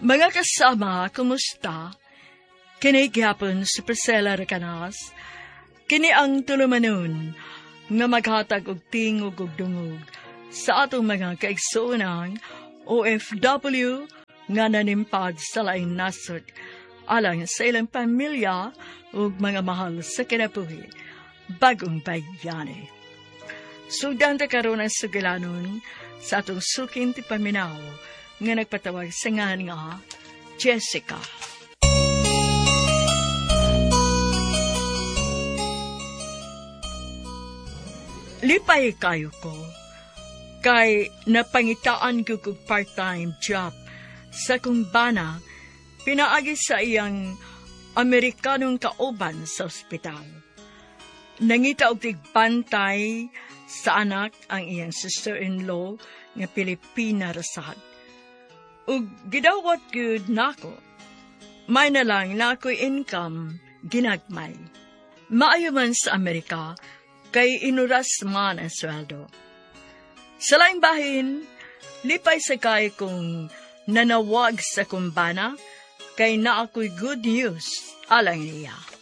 Mga kasama, kumusta? Kini gihapon si Priscilla Recanas. Kini ang tulumanon nga maghatag og tingog ug dungog sa atong mga kaigsuonan OFW nga nanimpad sa laing nasod alang sa ilang pamilya ug mga mahal sa kinabuhi, bagong bayani. Sugdan ta karon ang sugilanon sa atong suking tipaminaw nga nagpatawag sa ngalan nga Jessica. Lipay kayo ko kay napangitaan ko og part-time job sa kong bana pinaagi sa iyang Amerikanong kauban sa ospital. Nangita og tigbantay sa anak ang iyang sister-in-law nga Pilipina rasad. Ug gidawat gyud nako. May na lang na ako'y income ginagmay. Maayo man sa Amerika kay inuras man ang sweldo. Sa laing bahin, lipay sa kay kong nanawag sa kumbana kay na ako'y good news alang niya.